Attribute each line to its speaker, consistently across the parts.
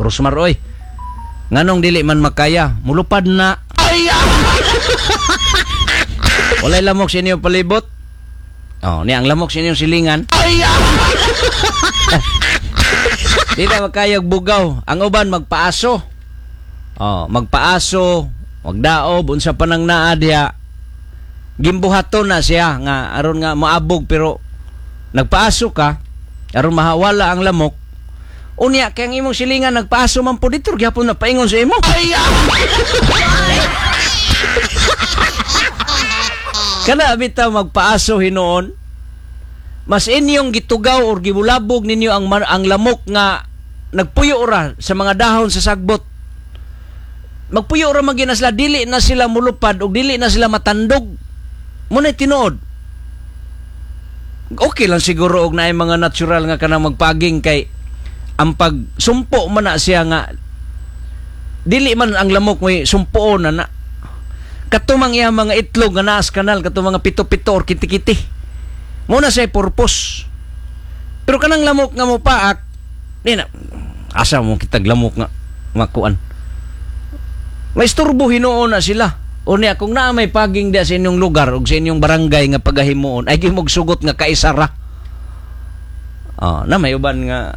Speaker 1: Rosmar oy. Nganong dili man makaya, mulupad na. Walay lamok sa inyong palibot. Oh, ni ang lamok sa inyong silingan. Di na makayag bugaw. Ang uban magpaaso. Oh, magpaaso, magdaob unsa pa nang naa diha. Gimbuhaton na siya nga aron nga moabog, pero nagpaaso ka aron mahawala ang lamok. Unya kay ang imong silingan nagpaaso man pud dito gyapon na paingon sa imo. Kana bitaw magpaaso hinuon, mas inyong gitugaw or gibulabog ninyo ang lamok nga nagpuyo ra sa mga dahon sa sagbot. Magpuyo ra man gyud na sila, dili na sila mulupad og dili na sila matandog. Muna'y tinuod. Okay lang siguro og naay mga natural nga kanang magpaging kay ang pagsumpo man na siya nga dili man ang lamok may sumpoon na na. Katumang iya mga itlog nga naas kanal, katong mga pito-pito or kiti-kiti. Muna siya purpose. Pero kanang lamok nga mopaak, di na, asa mo kitag lamok nga makuan. May isturbo hinuon na sila. O niya, kung naa may paging diya sa inyong lugar o sa inyong barangay nga pagahimuon, ay gimog sugot nga kaisara. Oh, na may uban nga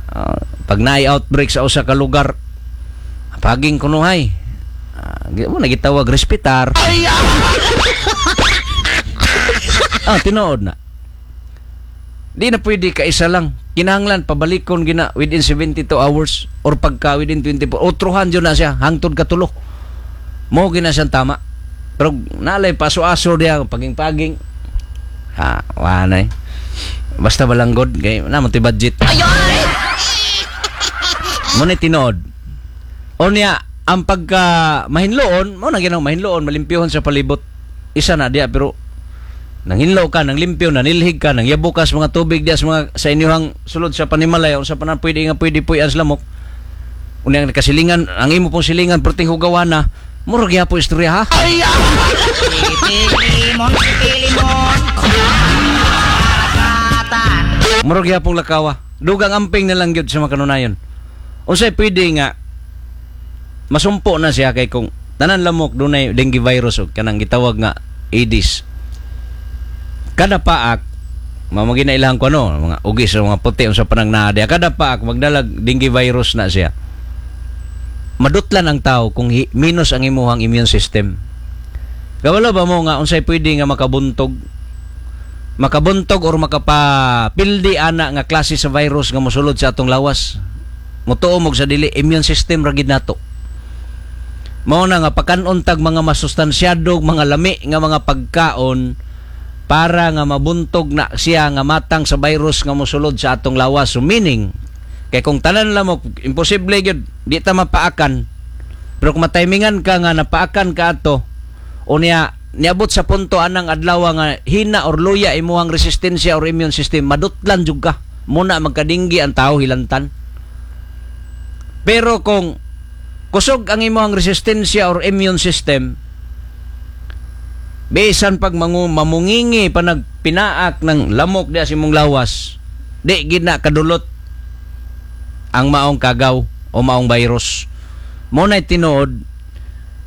Speaker 1: pag naay outbreak sa usa ka lugar, paging kunuhay. Mo na gitawag respetar. Tinuod na. Di na pwede kaisa lang. Kinahanglan pabalikon gina within 72 hours or pagka within 24. Otruhan jud na siya hangtod katulo. Mo gina siyang tama. Pero nalay paso-aso diya paging-paging. Ha, wa na eh. Basta balanggod kay na mo ti budget. Mo ni tinuod. O niya ang pagka mahinloon, mo na ginaw mahinloon, malimpyohon sa palibot. Isa na diya pero nanghinlo ka, nanglimpyo, nanilhig ka, nangyabo ka sa mga tubig diya sa mga sa inyong sulod sa panimalay o sa panan pwede nga pwede puy-an sa lamok. Unya ang nakasilingan, ang imo pong silingan perting hugawan na, murag gyapon istorya ha. Murag gyapon lakawa. Dugang amping na lang gyud sa mga kanunayon. Unsay pwede nga masumpo na siya kay kung tanan lamok dunay dengue virus og kanang gitawag nga Aedes. Kada paak mamagi na ilang kuno mga ugis o mga puti unsa pa nang naa diha. Kada paak magdalag dengue virus na siya. Madutlan ang tao kung minus ang imuhang immune system. Kabalo ba mo nga unsay pwede nga makabuntog? Makabuntog or makapapildi ana nga klase sa virus nga mosulod sa atong lawas. Mutuo mo sa dili, immune system ra gid nato. Mao na nga pakanon tag mga masustansyado, mga lami nga mga pagkaon para nga mabuntog na siya nga matang sa virus nga mosulod sa atong lawas. So meaning, kay kung tanan lamok, imposible gyud, di ta mapaakan. Pero kung matimingan ka nga napaakan ka ato, o niya, niabot sa punto anang adlaw nga hina or luya imuhang resistensya or immune system, madutlan jud ka. Muna magkadinggi ang tao hilantan. Pero kung kusog ang imuhang resistensya or immune system, bisan pag mamungingi pa nagpinaak ng lamok diya sa imong lawas, di gid na kadulot ang maong kagaw o maong virus. Mo na'y tinuod.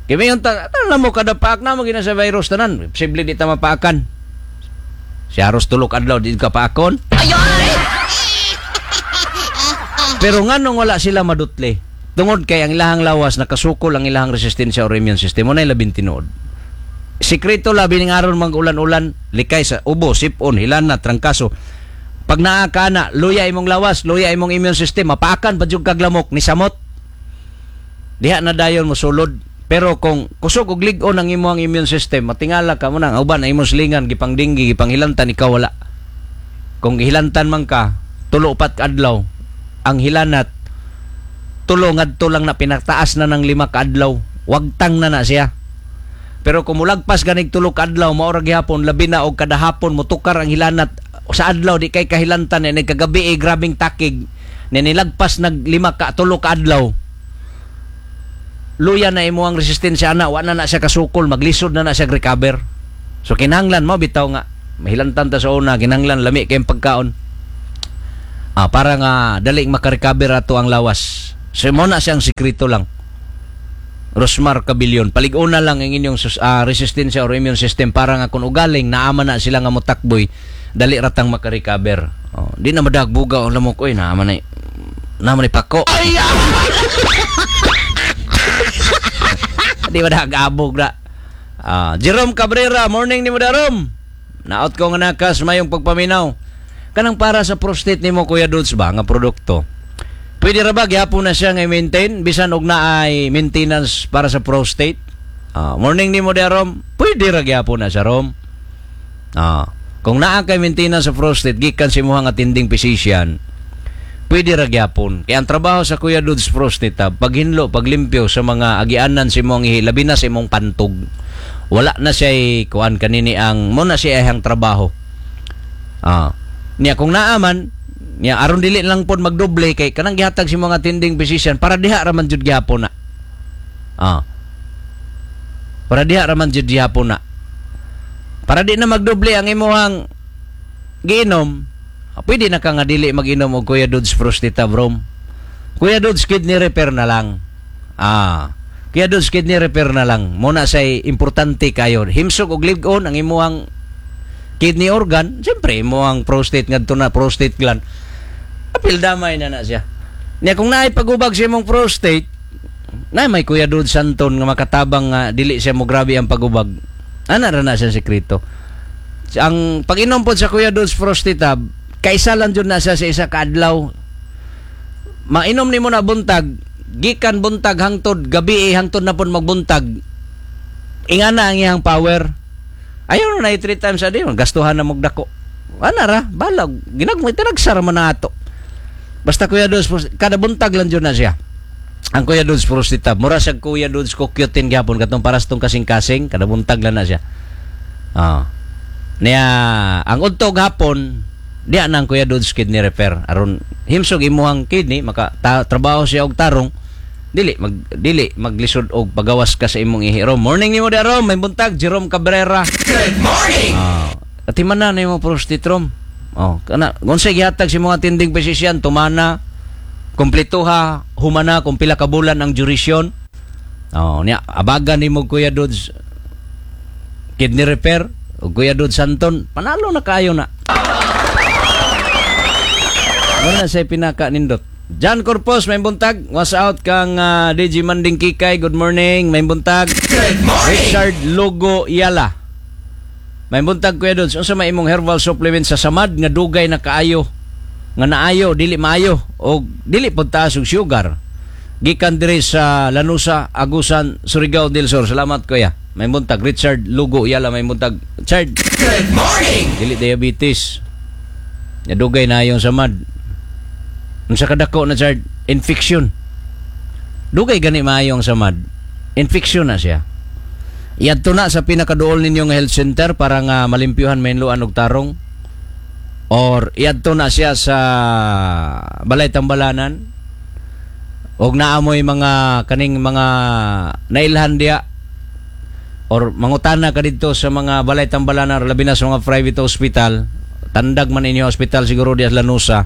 Speaker 1: Kay mayon ta, tanan mo kada paak na mo gina sa virus tanan. Posible di ta mapaakan. Si aros tulok adlaw di ka paakon. Pero nganong wala sila madutli? Tungod kay ang ilahang lawas nakasukol ang ilahang resistensya or immune system. Mo na'y labing tinuod. Sikreto labi ning aron mag-ulan-ulan, likay sa ubo, sipon, hilana, trangkaso. Pag naa ka na, luya imong lawas, luya imong immune system, mapaakan pa jud kag lamok ni samot. Diha na dayon mosulod. Pero kung kusog og lig-on ang imong immune system, matingala ka mo nang uban ang imong silingan gipang dinggi, gipang hilantan, ikaw wala. Kung gihilantan man ka, tulo upat ka adlaw ang hilanat, tulo ngadto lang na pinataas na ng 5 ka adlaw, wagtang na na siya. Pero kung mulagpas ganig tulo ka adlaw, mao ra gihapon, labi na og kada hapon motukar ang hilanat sa adlaw di kay kahilantan ni kagabi grabing takig ni nilagpas nag 5 ka tulo ka adlaw, luya na imo ang resistensya ana, wa na na siya kasukol, maglisod na na siya recover. So kinahanglan mo bitaw nga mahilantan ta sa una, kinahanglan lami kay pagkaon. Para nga dali makarecover ato ang lawas. So mo na siyang sikreto lang. Rosmar Cabilion, palig-una lang ang inyong resistensya or immune system para nga kung ugaling naama na sila nga motakboy, dali ratang makarecover. Oh, di na madagbuga ang lamok, oy, naama na pako. Ay! Di madagabog na. Jerome Cabrera, morning ni mo Darom. Naot ko nga nakas mayong pagpaminaw. Kanang para sa prostate nimo, Kuya Dudes, ba nga produkto. Pwede ra ba gyapon na siya nga i-maintain bisan og naay maintenance para sa prostate? Morning nimo Darom. Pwede ra gyapon na siya, Rom. Kung naa kay maintenance sa prostate gikan sa imong attending physician, pwede ra gyapon. Kaya ang trabaho sa Kuya Dudes Prostate Tab, paghinlo, paglimpyo sa mga agianan sa imong ihi, labi na sa imong pantog. Wala na siya kuan kanini ang mo na siya ang trabaho. Niya kung naaman niya aron dili lang pod magdoble kay kanang gihatag si mga attending physician para diha ra man jud gyapon na. Para diha ra man jud gyapon na. Para di na magdoble ang imuhang giinom, pwede na ka nga dili mag-inom og Kuya Dudes Prostate Tab, Rom. Kuya Dudes Kidney Repair na lang. Kuya Dudes Kidney Repair na lang. Muna say importante kayo. Himsog og live-on ang imuhang kidney organ, siyempre imuhang prostate ngadto na prostate gland. Apil damay na na siya. Niya kung naay pagubag sa imong prostate, na may Kuya Dudes Santon nga makatabang nga dili siya mo grabe ang pagubag. Ana ra na siya sekreto. Ang pag-inom pod sa Kuya Dudes Prostate Tab, kaisa lang jud na siya sa isa ka adlaw. Mainom nimo na buntag, gikan buntag hangtod gabi, hangtod na pud magbuntag. Ingana ang iyang power. Ayaw na 3 times a day, gastuhan na mogdako. Ana ra, balag, ginagmay tinagsara man na ato. Basta Kuya Dudes, kada buntag lang jud na siya. Ang Kuya Dudes Prostate Tab, mura siya Kuya Dudes CoQ10 gyapon katong paras tong kasing-kasing, kada buntag lang na siya. Niya ang udto hapon, diya na ang Kuya Dudes Kidney Repair aron himsog imuhang kidney maka trabaho siya og tarong, dili maglisod og pagawas ka sa imong ihi. Rom, morning nimo da Rom, may buntag Jerome Cabrera.
Speaker 2: Good morning.
Speaker 1: Atiman na nimo prostate, Rom. Oh, kana unsay gihatag sa mga attending physician, tumana, kompletuha, humana kung pila ka bulan ang duration. Oh, niya abagan nimo Kuya Dudes Kidney Repair o Kuya Dudes Santon, panalo na kayo na. Wala sa pinaka nindot. John Corpus, may buntag. Was out kang DJ Manding Kikay. Good morning, may buntag.
Speaker 2: Good morning.
Speaker 1: Richard Lugo Yala. May buntag, Kuya Dudes. Unsa may imong herbal supplement sa samad nga dugay na kaayo? Nga naayo, dili maayo o dili pud taas og sugar. Gikan diri sa Lanusa, Agusan, Surigao del Sur. Salamat, kuya. May buntag Richard Lugo Yala, may buntag. Richard.
Speaker 2: Good morning.
Speaker 1: Dili diabetes. Nga dugay na yung samad. Unsa kadako na, Chard? Infection. Dugay gani maayo ang samad. Infection na siya. Iadto na sa pinakaduol ninyong health center para nga malimpyuhan, mainluan og tarong. Or iadto na siya sa balay tambalanan. Og naamoy mga kaning mga nailhan diya or mangutana ka didto sa mga balay tambalanan, labi na sa mga private hospital. Tandag man inyo hospital siguro diya sa Lanusa.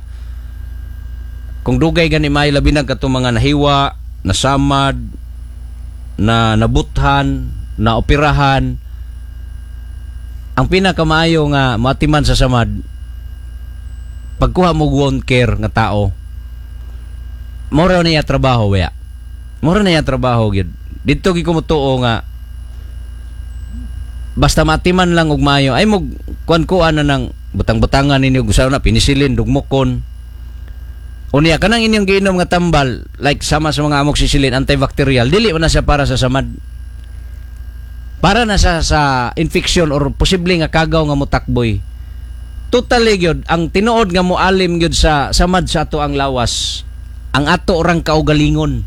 Speaker 1: Kung dugay gani may labi na katong mga nahiwa, nasamad, na nabuthan, na operahan, ang pinakamaayo nga matiman sa samad, pagkuha mo wound care nga tao, mura niya trabaho waya. Mura niya trabaho gyud. Didto gyud ko motuo nga basta matiman lang og maayo ay mo kuan-kuan na ng butang-butangan ninyo gusto na penicillin dugmokon. Unya kanang inyong giinom nga tambal like sama sa mga amoxicillin antibacterial, dili man na siya para sa samad. Para na sa infection or posible nga kagaw nga motakboy. Totally gyud ang tinuod nga moalim gyud sa samad sa ato ang lawas, ang ato orang kaugalingon.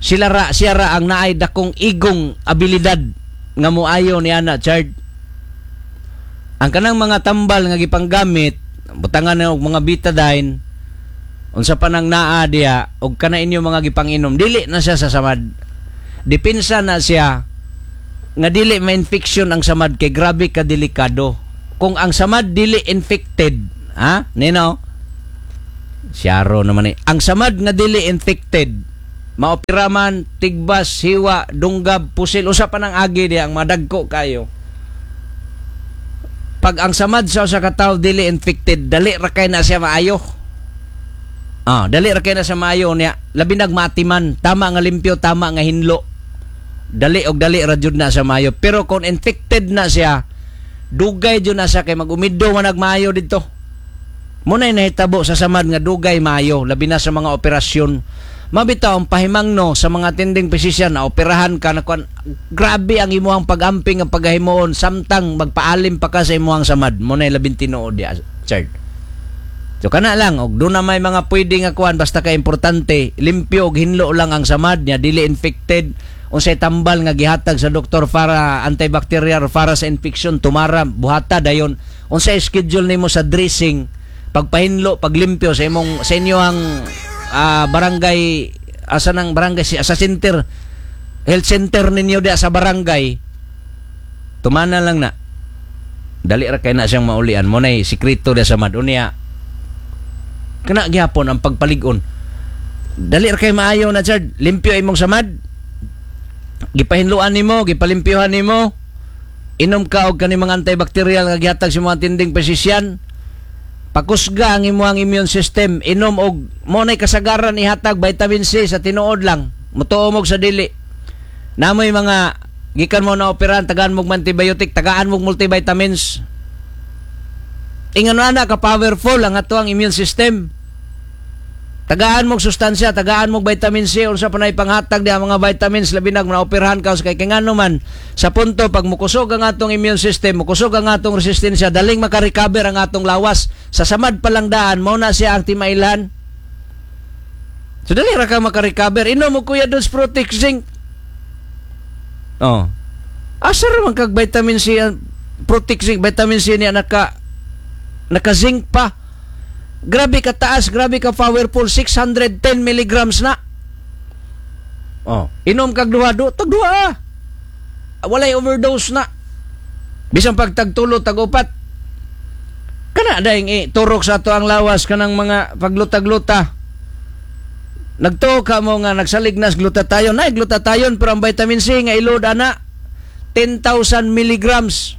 Speaker 1: Sila ra, siya ra ang naay dakong igong abilidad nga moayo ni ana, Chard. Ang kanang mga tambal nga gipanggamit, butangan na og mga betadine, unsa pa nang naa diya og kana inyo mga gipanginom, dili na siya sa samad. Depensa na siya nga dili ma-infection ang samad kay grabe ka delikado. Kung ang samad dili infected, ha? Nino? Siyaro naman eh. Ang samad nga dili infected, maopera man, tigbas, hiwa, dunggab, pusil, usa pa nang agi diya ang madagko kayo. Pag ang samad sa usa ka tawo dili infected, dali ra kay na siya maayo. Ah, dali ra kay na siya maayo niya. Labi nag maatiman, tama nga limpyo, tama nga hinlo. Dali og dali ra jud na siya maayo. Pero kung infected na siya, dugay jud na siya kay magumido man nagmaayo didto. Muna'y nahitabo sa samad nga dugay maayo, labi na sa mga operasyon. Mabitaw ang pahimangno sa mga attending physician na operahan ka na kuan, grabe ang imuhang pag-amping, ang paghimuon samtang magpaalim pa ka sa imuhang samad. Muna'y labing tinuod diya, Chard. So kana lang og doon na may mga pwede nga kuan, basta ka importante limpyo og hinlo lang ang samad niya, dili infected. Unsay tambal nga gihatag sa doktor para antibacterial, para sa infection, tumara, buhata dayon. Unsay schedule nimo sa dressing, pagpahinlo, paglimpyo sa imong, sa inyohang barangay, asa nang barangay, sa center, health center ninyo diya sa barangay, tumana lang na. Dali ra kay na siyang maulian mo nay sikreto diya sa madunya. Kana gyapon ang pagpalig-on. Dali ra kay maayo na, Chard. Limpyo imong samad. Gipahinluan nimo, gipalimpyohan nimo. Inom ka og kani mga antibacterial nga gihatag sa mga attending physician. Pakusga ang imong immune system. Inom og mo nay kasagaran ihatag vitamin C sa tinuod lang. Mutuo mo sa dili. Namoy mga gikan mo na operahan, tagaan mo antibiotic, tagaan mo multivitamins. Ingon ana ka powerful ang ato ang immune system. Tagaan mo sustansya, tagaan mo vitamin C, unsa pa nay panghatag di ang mga vitamins, labi nag naoperahan ka kay kay ngano man sa punto pag mukusog ang atong immune system, mukusog ang atong resistensya, daling makarecover ang atong lawas. Sa samad pa lang daan, mao na siya ang timailan. So dali ra ka makarecover. Inom mo Kuya Dos Protect Zinc. Oh. Asa ra man kag vitamin C ang Protect Zinc, vitamin C niya naka zinc pa. Grabe ka taas, grabe ka powerful, 610 milligrams na. Oh, inom kag duha, tag duha. Walay overdose na. Bisan pag tagtulo, tag-upat. Kana dayeng turok sa ato ang lawas kanang mga paglutag-luta. Nagtuo ka mo nga nagsalig nas glutathione, nay glutathione, pero ang vitamin C nga ilod ana 10,000 milligrams.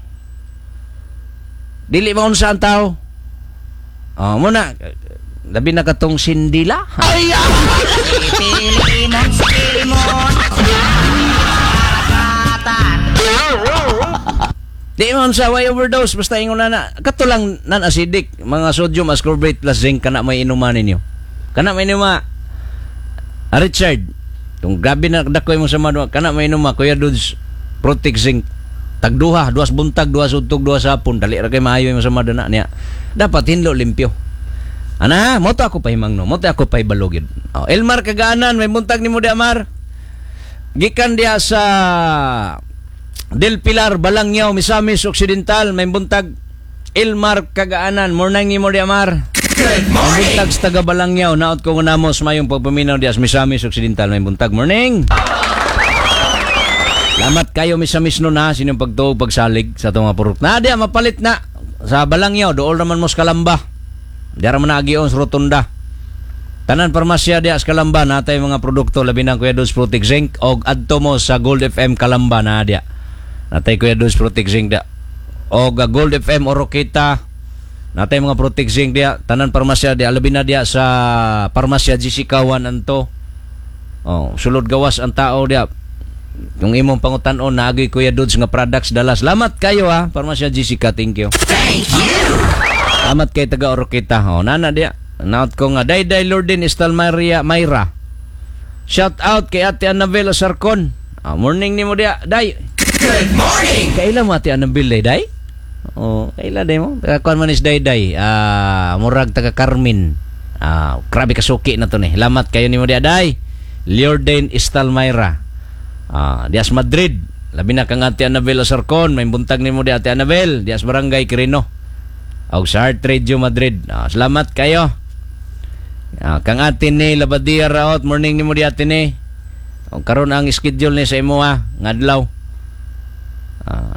Speaker 1: Dili maunsa ang tao. Oh, muna labi na katong sindila.
Speaker 2: Ay! Limon, limon. Karagatan.
Speaker 1: Di man sa way overdose, basta ingon na na kato lang non-acidic mga sodium ascorbate plus zinc, kana may inuman ninyo. Kana may inuma. Ah, Richard, kung grabe na dakoy mo sa madwa, kana may inuma Kuya Dudes Protect Zinc. Tagduha, duas buntag, duas udtog, duas hapon, dali ra kay maayo mo sa madana niya. Dapat hinlo limpyo. Ana, mo to ako pahimangno, mo to ako pahibalogid. Oh, Elmar Kagaanan, may buntag nimo di Amar. Gikan diha sa Del Pilar, Balangyaw, Misamis Occidental, may buntag Elmar Kagaanan. Morning nimo di Amar.
Speaker 2: Good
Speaker 1: May
Speaker 2: morning.
Speaker 1: buntag sa taga Balangyaw, naot ko namo sa mayong pagpaminaw diha sa Misamis Occidental, may buntag. Morning. Salamat kayo Misamis no na sa inyong pagtuog pagsalig sa atong mga purok. Na diha mapalit na sa Balangyaw, dool naman mo sa Kalamba. Diha ra man naagion sa rotunda. Tanan parmasya diha sa Kalamba natay mga produkto, labi na Kuya Dos Protect Zinc, og adto mo sa Gold FM Kalamba na diha. Natay Kuya Dos Protect Zinc diha. Og Gold FM Oroquieta natay mga Protect Zinc diha. Tanan parmasya diha, labi na diha sa parmasya GC Kawan anto. Oh, sulod gawas ang tao diha. Kung imong pangutan-on naagi Kuya Dudes nga products dala. Salamat kayo ha, Parmasya Jessica, thank you.
Speaker 2: Thank you.
Speaker 1: Salamat kay taga Oroquieta. Oh, nana diya. Naot ko nga Dayday Lourdes Estal Maria Mayra. Shout out kay Ate Annabel Osarcon. Ah, morning nimo diya, Day.
Speaker 2: Good morning.
Speaker 1: Kaila mo Ate Annabel day, Day? Oh, kaila day mo. Taga kuan man is Dayday. Ah, murag taga Carmen. Ah, grabe ka suki na to ni. Salamat kayo nimo diya, Day. Lourdes Estal Mayra. Ah, dias Madrid. Labi na kang Ate Annabel Osarcon, may buntag nimo di Ate Annabel, dias Barangay Quirino. Og sa Heart Radio Madrid. Ah, salamat kayo. Ah, kang ate ni Labadia Raot, morning nimo di ate ni. Og karon ang schedule ni sa imo ha, ngadlaw.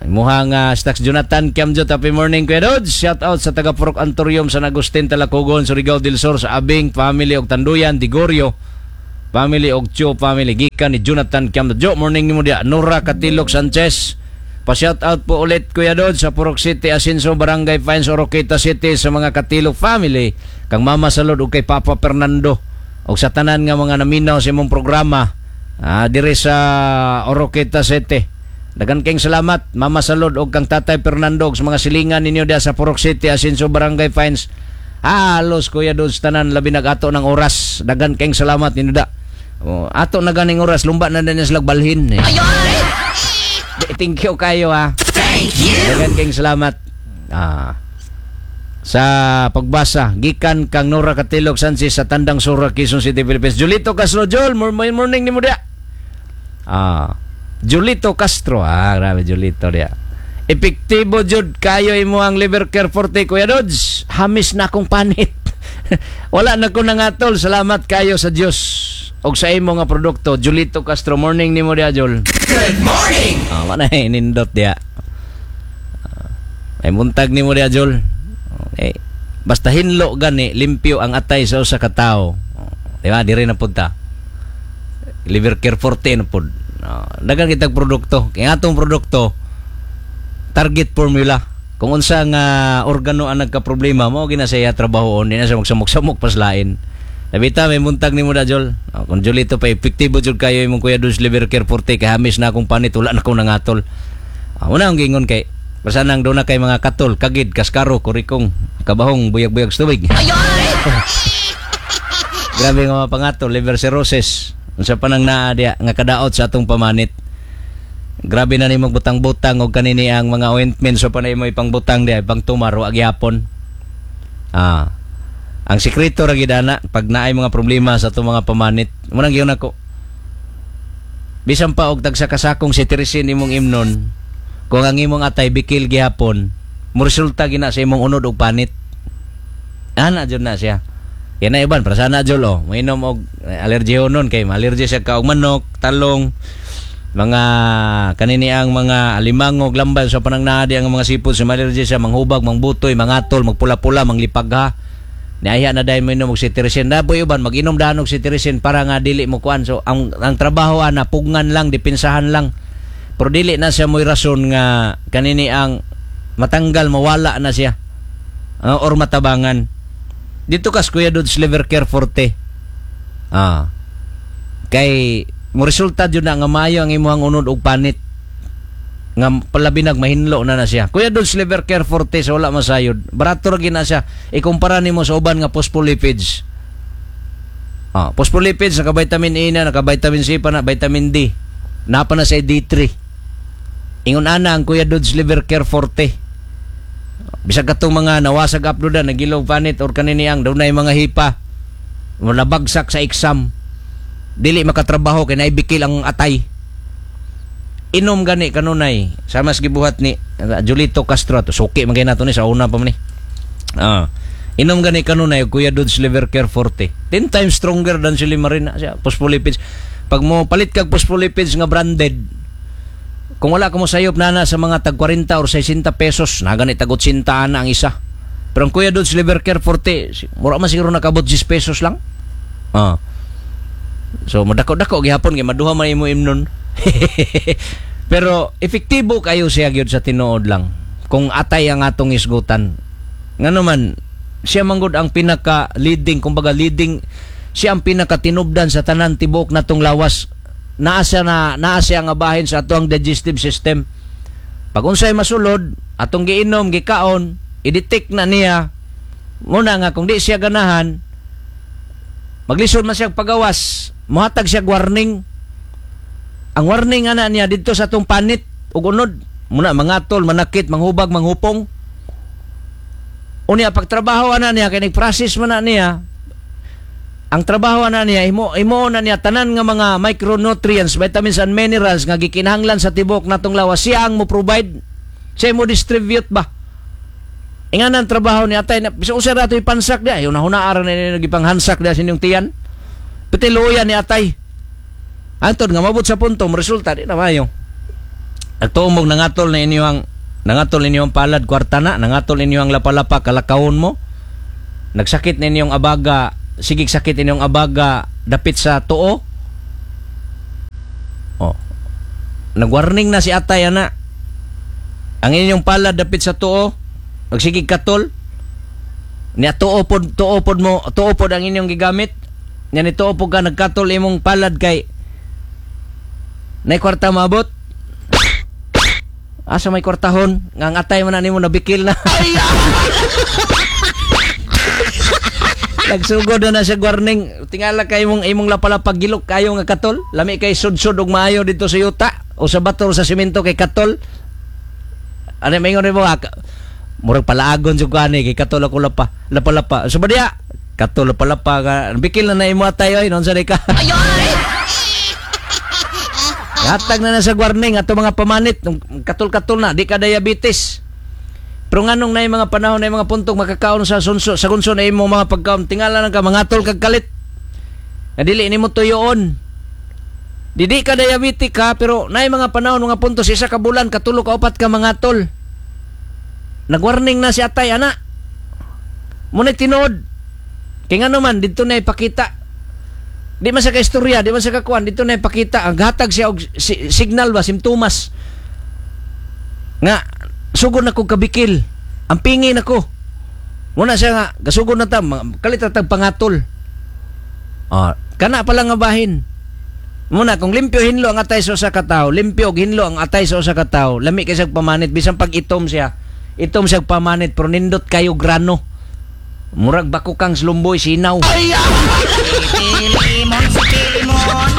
Speaker 1: Imuha nga Stacks Jonathan Kiamjot, happy morning, Kuya Dodge. Shout out sa taga Purok Antorium, San Agustin, Talacogon, Surigao del Sur, sa Abing family og Tanduyan, Digorio family og Cho family, gikan ni Jonathan Kiamjot. Jo, morning nimo dia. Nora Katilok Sanchez. Pa-shout out po ulit, Kuya Dodge, sa Purok City, Asinso, Barangay Pines, Oroquieta City, sa mga Katilok family, kang Mama Salud ug kay Papa Fernando ug sa tanan nga mga naminaw sa imong programa diri sa Oroquieta City. Daghan kayong salamat, Mama Salud ug kang Tatay Fernando, ug sa mga silingan ninyo diha sa Purok City, Asinso, Barangay Pines. Halos, Kuya Dodge, tanan, labi nag ato ng oras. Daghan kayong salamat ninyo da. Oh, ato na ganing oras, lumba na din sila balhin eh. Thank you kayo ha.
Speaker 2: Thank you.
Speaker 1: Daghan kayong salamat. Sa pagbasa gikan kang Nora Katilok Sanchez sa Tandang Sora, Quezon City, Philippines. Julito Castro. Jol, morning, morning nimo dia. Julito Castro. Grabe Julito dia. Epektibo jud kayo imo ang Liver Care Forte, Kuya Dodge. Hamis na akong panit. Wala na ko nangatol. Salamat kayo sa Dios og sa imo nga produkto. Julito Castro, morning nimo dia, Jol.
Speaker 2: Good morning.
Speaker 1: Mana nindot dia. Ay muntag nimo dia, Jol. Okay. Basta hinlo gani, limpyo ang atay sa usa ka tawo. Oh, di ba? Diri na pud ta. Liver Care Forte na pud. Daghan kitag produkto. Kaya atong produkto target formula. Kung unsa nga organo ang nagka-problema, mao gina siya trabahoon, di na siya magsamok-samok paslain. Nabita, may muntag nimo da, Jol. Oh, kung Jolito pa, epektibo jud kayo imong, Kuya Dodge, Liver Care Forte kay hamis na akong panit, wala na akong nangatol. Una ang gingon kay basta nang doon na kay mga katol, kagid, kaskaro, kurikong, kabahong, buyag-buyag sa tubig. Grabe nga mga pangatol, liver cirrhosis. Unsa pa nang naa diya nga kadaot sa atong pamanit. Grabe na nimo butang-butang og kanini ang mga ointment, so pa na imo ipangbutang diya, ipangtumar, wa gyapon. Ang sekreto ra gid ana pag naay mga problema sa atong mga pamanit. Mo nang giyon ako. Bisan pa og tagsa kasakong cetirizine imong imnon, kung ang imong atay bikil gihapon, mo resulta gina sa imong unod og panit. Ana jud na siya. Yan na iban, para sana jud oh, mainom og allergy nun kay allergy siya ka og manok, talong, mga kanini ang mga alimangog, lambal sa panang naadi ang mga sipod sa allergy siya, manghubag, mangbutoy, mangatol, magpula-pula, manglipagha. Niaya na dahil mo inom og cetirizine. Naboy uban mag-inom daan og cetirizine para nga dili mo kuan. So ang trabaho ana pugngan lang, depensahan lang. Pero dili na siya mo'y rason nga kanini ang matanggal, mawala na siya. Or matabangan. Dito kas Kuya Dodge Liver Care Forte. Kay mo resulta jud na nga maayo ang imong unod og panit. Nga palabi nag mahinlo na na siya. Kuya Dodge Liver Care Forte sa wala masayod. Barato ra gina siya. Ikumpara nimo sa uban nga phospholipids. Phospholipids naka vitamin A na, naka vitamin C pa na, vitamin D. Napa na sa D3. Ingon ana ang Kuya Dodge Liver Care Forte. Bisag katong mga nawasag upload na nagilog panit or kanini ang dunay mga hipa. Nabagsak sa exam. Dili makatrabaho kay naibikil ang atay. Inom gani kanunay sa mas gibuhat ni Julito Castro ato, suki man kay nato ni sa una pa man ni. Inom gani kanunay Kuya Dodge Liver Care Forte. 10 times stronger than silymarin na siya, phospholipids. Pag mo palit kag phospholipids nga branded, kung wala ka mo sayop nana sa mga tag 40 or 60 pesos, na gani tag 80 na ang isa. Pero ang Kuya Dodge Liver Care Forte, mura man siguro nakabot 10 pesos lang. So madako-dako gihapon kay maduha man imo imnon. Pero epektibo kayo siya gyud sa tinuod lang. Kung atay ang atong isgutan. Ngano man siya manggod ang pinaka leading, kumbaga leading siya, ang pinaka tinubdan sa tanan tibok natong lawas. Naa siya na, naa siya nga bahin sa atong digestive system. Pag unsay masulod, atong giinom, gikaon, i-detect na niya. Muna nga kung di siya ganahan, maglisod man siya pagawas, mohatag siya warning. Ang warning ana niya didto sa atong panit ug unod, muna mangatol, manakit, manghubag, manghupong. Unya pagtrabaho ana niya kay nag-process man na niya. Ang trabaho ana niya, imo imo na niya tanan nga mga micronutrients, vitamins and minerals nga gikinahanglan sa tibok natong lawas, siya ang mo provide. Siya mo distribute ba? Ingan ang trabaho ni atay na bisan usa ra ato ipansak dia, una huna aran ni gipanghansak dia sa inyong tiyan. Pati luya ni atay. Antod nga mabot sa punto, mo resulta di na mayo. Nagtuo mong nangatol inyong palad, kwarta na, nangatol inyong lapalapa, kalakawon mo. Nagsakit na inyong abaga, sigig sakit inyong abaga dapit sa tuo. Oh. Nagwarning na si atay ana. Ang inyong palad dapit sa tuo, nagsigig katol. Nya tuo pod mo, tuo pod ang inyong gigamit. Nya ni tuo pod ka nagkatol imong palad kay nay kwarta maabot. Asa may kwartahon? Nga ang atay man na nimo nabikil na. Nagsugod na na siya warning. Tingala kay imong imong lapalapa, gilok kayo nga katol. Lami kay sudsod og maayo dito sa yuta o sa bato o sa simento kay katol. Ano maingon nimo ha? Murag palaagon jud ko ani kay katol ako lapa. Lapalapa. So ba diya? Katol lapalapa ka. Bikil na na imo atay oy, non sa ka. Hatag na na sa warning ato mga pamanit, katol-katol na, di ka diabetes. Pero nganong na mga panahon na mga puntong makakaon sa sunso, sa kunso na imong mga pagkaon, tingala lang ka mangatol kag kalit. Nga dili nimo tuyoon. Dili ka diabetic ka, pero naay mga panahon, mga punto sa isa ka bulan katulo ka upat ka mangatol. Nagwarning na si atay ana. Muna tinuod. Kay ngano man didto na ipakita. Di man sa ka istorya, di man sa kakuan, dito na ipakita ang hatag siya og signal ba, simptomas. Nga sugod na ko kabikil. Ang pingin ako. Muna siya nga gasugod na ta, kalit ra tag pangatol. Ah, kana pa lang nga bahin. Muna kung limpyo hinlo ang atay sa usa ka tawo, limpyo og hinlo ang atay sa usa ka tawo, lami kay siyang pamanit bisan pag itom siya. Itom siya pamanit pero nindot kayo grano. Murag bako kang slumboy sinaw.
Speaker 2: Limon sa limon.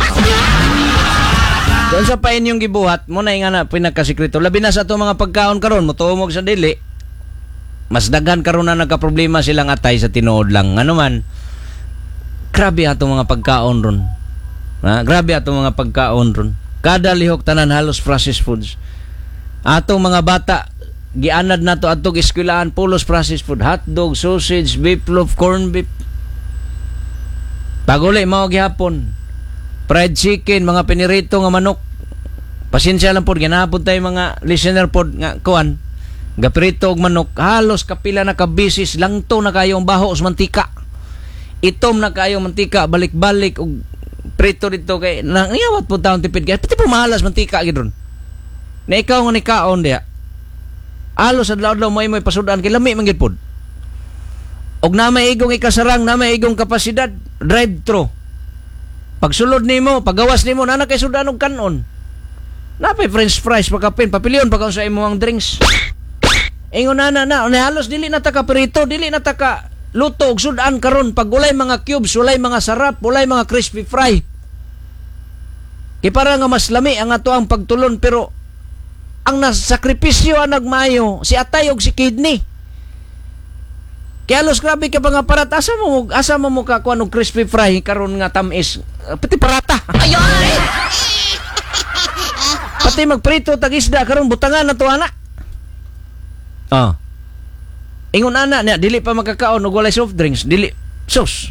Speaker 1: Doon sa pa inyong gibuhat, mo na nga na pinakasikreto. Labi na sa ato mga pagkaon karon, motuomog sa dili. Mas daghan karon na nagka-problema silang atay sa tinuod lang. Ano man, grabe ato mga pagkaon ron. Ha? Grabe ato mga pagkaon ron. Kada lihok tanan halos processed foods. Atong mga bata, gianad nato atong eskwelahan pulos processed food, hotdog, sausage, beef loaf, corn beef. Paguli mao gihapon. Fried chicken, mga pinirito nga manok. Pasensya lang pod, ginahapon tayo mga listener pod nga kuan. Gaprito og manok, halos kapila na ka bisis, langto na kayo ang baho sa mantika. Itom na kayo mantika, balik-balik og prito dito kay nangiyawat po taon tipid kay pati po mahalas mantika gid ron. Na ikaw nga nikaon diha. Halos adlaw-adlaw mo imoy pasudan kay lami man gid pod. Og na may igong ikasarang, na may igong kapasidad, drive-thru. Pagsulod nimo, pagawas nimo, na kay sudan og kanon. Napay french fries pagkapin, papilion pagkaon sa imong drinks. Ingon na na na, halos dili na ta ka prito, dili na ta ka luto og sudan karon pag walay mga cubes, walay mga sarap, walay mga crispy fry. Kay para nga mas lami ang ato ang pagtulon, pero ang nasakripisyo ang nagmayo si atay og si kidney. Kaya halos grabe ka pa nga parat, asa mo mo ka kuan og crispy fry karon nga tamis, pati parata. Pati magprito tag isda karon butangan na to ana. Ah. Ingon ana niya dili pa makakaon og walay soft drinks, dili sus.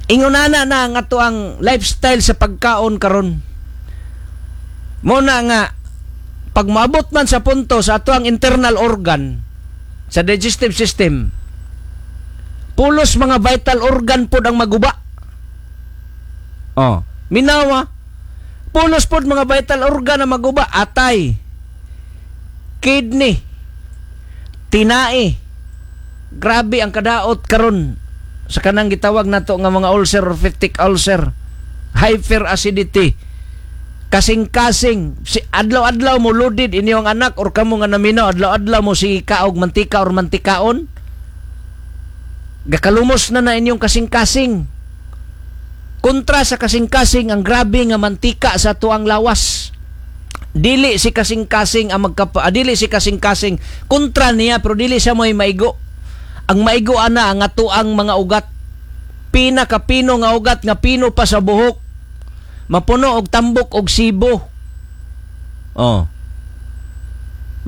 Speaker 1: Ingon ana na ang ato ang lifestyle sa pagkaon karon. Mo na nga pag maabot man sa punto sa ato ang internal organ sa digestive system, pulos mga vital organ pod ang maguba. Oh, minawa. Pulos pod mga vital organ ang maguba, atay, kidney, tinai. Grabe ang kadaot karon sa kanang gitawag nato nga mga ulcer or peptic ulcer, hyperacidity, kasing-kasing. Si adlaw-adlaw mo loaded inyong anak or kamo nga naminaw, adlaw-adlaw mo sige kaog mantika or mantikaon, gakalumos na na inyong kasing-kasing. Kontra sa kasing-kasing ang grabe nga mantika sa tuang lawas. Dili si kasing-kasing ang magkapa, dili si kasing-kasing kontra niya, pero dili siya mo'y maigo. Ang maigo ana ang atuang mga ugat. Pinakapino nga ugat nga pino pa sa buhok. Mapuno og tambok og sibo. Oh.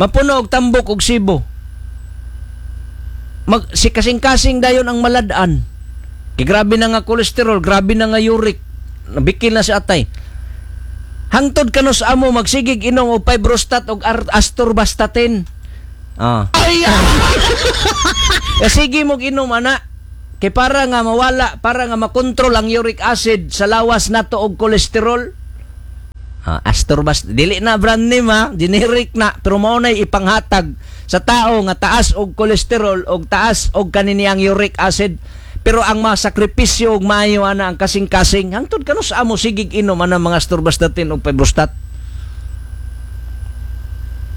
Speaker 1: Mapuno og tambok og sibo. Si kasing-kasing dayon ang malad-an. Kay grabe na nga kolesterol, grabe na nga uric. Nabikil na si atay. Hangtod kanus amo magsigig inom og fibrostat og astorvastatin. Ah. Ya, sige mo inom ana kay para nga mawala, para nga makontrol ang uric acid sa lawas nato og kolesterol. Ah, Astorbast, dili na brand name ha, generic na, pero mao nay ipanghatag sa tao nga taas og kolesterol og taas og kaniniyang uric acid. Pero ang masakripisyo og maayo ana ang kasing-kasing, hangtod kanus amo sigig inom ana mga astorvastatin og fibrostat.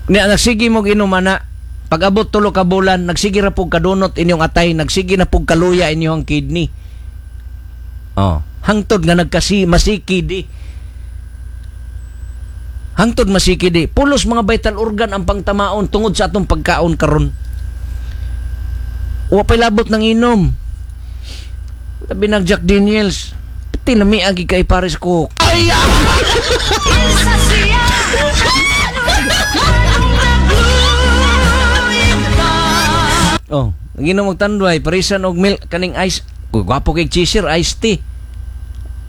Speaker 1: Niya nagsige mo inom ana, pag-abot 3 ka bulan, nagsige ra pug kadunot inyong atay, nagsige na pug kaluya inyong kidney. Oh, hangtod nga nagkasi masiki di. Hangtod masiki di. Pulos mga vital organ ang pangtamaon tungod sa atong pagkaon karon. Wa pa'y labot ng inom. Labi nag Jack Daniels. Pati lami agi kay Paris Coke. Ay! Oh, ginom og tanduay, parisan og milk kaning ice. Uy, gwapo kay cheeser, iced tea.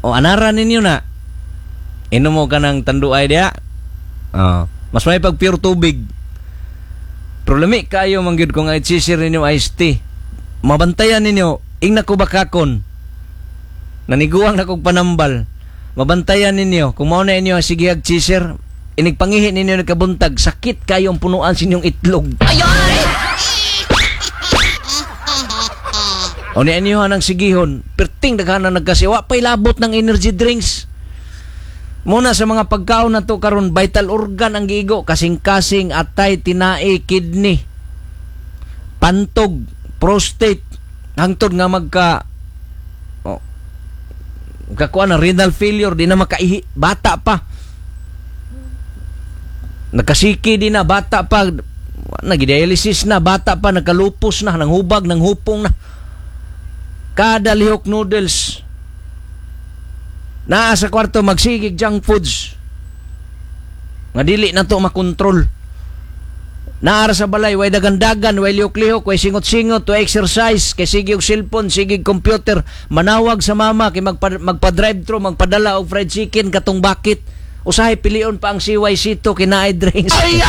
Speaker 1: O anara ninyo na. Inom mo ka ng tanduay diya. Oh, mas may pag pure tubig. Pero lami kayo man gyud kung ay cheeser ninyo iced tea. Mabantayan ninyo, ingna ko bakakon. Naniguang na kog panambal. Mabantayan ninyo kung mao na inyo sige ag cheeser, inigpangihi ninyo nagkabuntag, sakit kayo ang punuan sa inyong itlog. O ni inyo ang sigihon, perting daghan na nagkasiwa, pa'y labot ng energy drinks. Muna sa mga pagkaon na to karon, vital organ ang giigo, kasing-kasing, atay, tinai, kidney, pantog, prostate, hangtod nga magka oh, kakuha na renal failure, di na makaihi, bata pa. Nagkasiki di na, bata pa, nag-dialysis na, bata pa, nagkalupos na, nanghubag, nanghupong na. Kada lihok noodles. Naa sa kwarto magsigig junk foods. Nga dili na to makontrol. Naa sa balay way dagandagan, way lihok-lihok, way singot-singot, way exercise, kay sige og cellphone, sige computer, manawag sa mama kay magpa-drive thru, magpadala og fried chicken katong bakit. Usahay pilion pa ang CYC to kinaay drinks. Ay!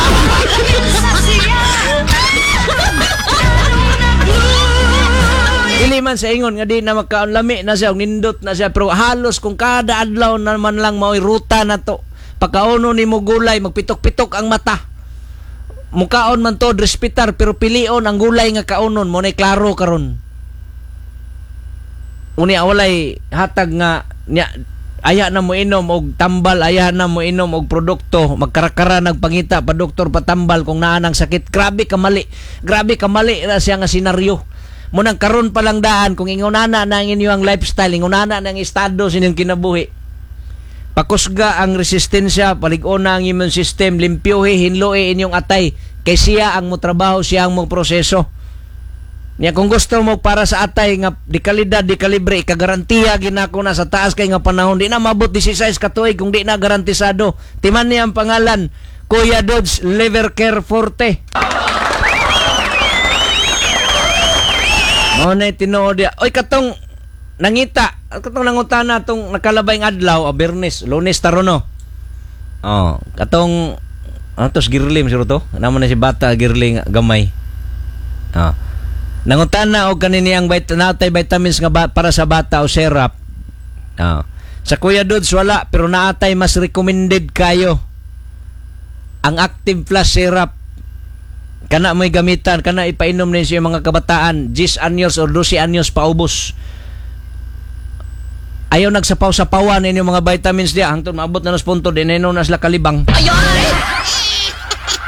Speaker 1: Dili man sa ingon nga di na magkaon, lami na siya, nindot na siya, pero halos kung kada adlaw na man lang mao'y ruta na to. Pagkaono ni mo gulay, magpitok-pitok ang mata. Mukaon man to, respetar, pero pilion ang gulay nga kaonon, mo na'y klaro karon. Unya walay hatag nga nya, aya na mo inom og tambal, aya na mo inom og produkto, magkarakara nagpangita pa doktor patambal kung naa nang sakit. Grabe kamali, grabe kamali na siya nga senaryo. Munang karon pa lang daan kung ingunana na ang inyong lifestyle, ingunana na ang estado sa inyong kinabuhi. Pakusga ang resistensya, palig-on na ang immune system, limpyohe, hinloe inyong atay, kay siya ang motrabaho, siya ang moproseso. Niya kung gusto mo para sa atay nga di kalidad, di kalibre, ikagarantiya ginako na sa taas kay nga panahon, di na mabot 16 ka tuig kung di na garantisado. Timan niya ang pangalan, Kuya Dodge Liver Care Forte. Mao na tinuod ya. Oy katong nangita, katong nangutana tong nakalabay ng adlaw, Bernes, Lunes taron no. Oh, katong ano tos girlim siguro to? Namo na si bata girling gamay. Oh. Nangutana og kaniniyang natay vitamins nga para sa bata o syrup. Oh. Sa Kuya Dodge wala, pero naatay mas recommended kayo. Ang Active Plus syrup. Kana mo'y gamitan, kana ipainom ninyo sa mga kabataan, 10 anyos or 12 anyos paubos. Ayaw nagsapaw-sapawan ninyo mga vitamins diya, hangtod maabot na nas punto, di na na sila kalibang.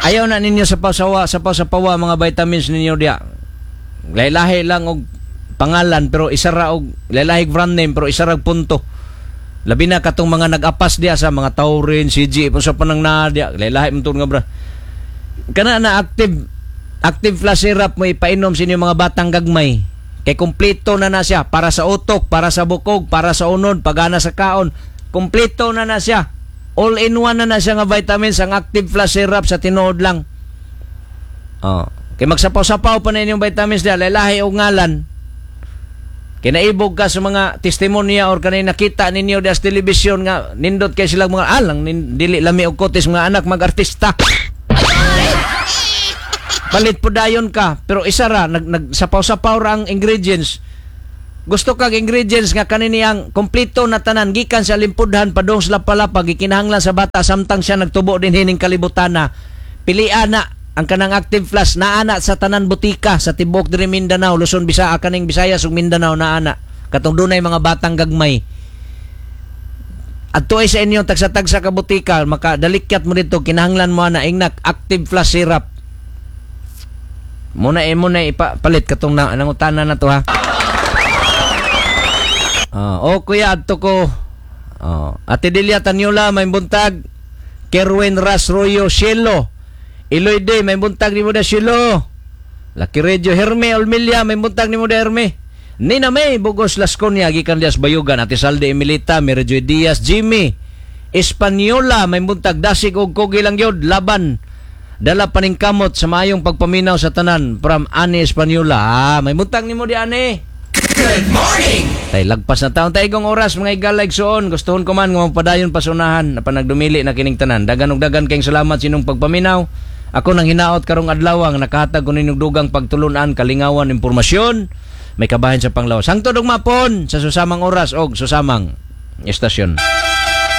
Speaker 1: Ayaw na ninyo sapaw-sapawa mga vitamins ninyo diya. Lahi-lahi lang og pangalan pero isa ra og lahi-lahi brand name pero isa ra og punto. Labi na katong mga nag-apas diya sa mga Taurin, CG, sa panang naa diya, lahi-lahi man nga bra. Kana na active Plus syrup mo ipainom sa inyong mga batang gagmay. Kay kumpleto na na siya para sa utok, para sa bukog, para sa unod, pagana sa kaon. Kumpleto na na siya. All in one na na siya nga vitamins ang Active Plus syrup sa tinuod lang. Oh, kay magsapaw-sapaw pa na inyong vitamins diya, lahi og ngalan. Kinaibog ka sa mga testimonya or kanay nakita ninyo sa telebisyon nga nindot kay sila mga alang dili lami og kutis mga anak mag-artista. Palit po dayon ka, pero isa ra nag, nag sapaw-sapaw ra ang ingredients. Gusto kag ingredients nga kanini ang kompleto na tanan gikan sa limpudhan padung sa lapalapa, gikinahanglan sa bata samtang siya nagtubo din hining kalibutana. Pilian na ang kanang Active Plus, naa na sa tanan butika sa tibuok diri Mindanao, Luzon, Bisaya, kaning Visayas ug Mindanao naa na. Katong dunay mga batang gagmay. Adto ay sa inyong tagsa-tagsa ka butika, makadalikyat mo dito, kinahanglan mo na ingnak Active Plus syrup. Muna eh, muna ipapalit katong na, nangutana na to ha. Ah, oh kuya, adto ko. Oh, Ate Delia Tanyola, may buntag. Kerwin Rasroyo Cielo. Iloy Day, may buntag nimo da Cielo. Lucky Radio Herme Olmilia, may buntag nimo da Herme. Nina May Bugos Lasconia gikan dias Bayugan, Ate Salde Emilita, Mary Joy Diaz, Jimmy Espanyola, may buntag, dasig og kugi lang gyud laban. Dala paning kamot sa maayong pagpaminaw sa tanan from Ani Espanyola. Ah, may buntag nimo di Ani.
Speaker 3: Good morning.
Speaker 1: Tay lagpas na taon taygong oras, mga igala, igsuon. Gustuhon ko man nga magpadayon pa sa unahan na panagdumili na kining tanan. Dagan og dagan kayong salamat sa inyong pagpaminaw. Ako nang hinaot karong adlaw ang nakahatag ko ninyong dugang pagtulunan, kalingawan, impormasyon may kabahin sa panglawas. Hangtod ug mapon sa susamang oras og susamang estasyon.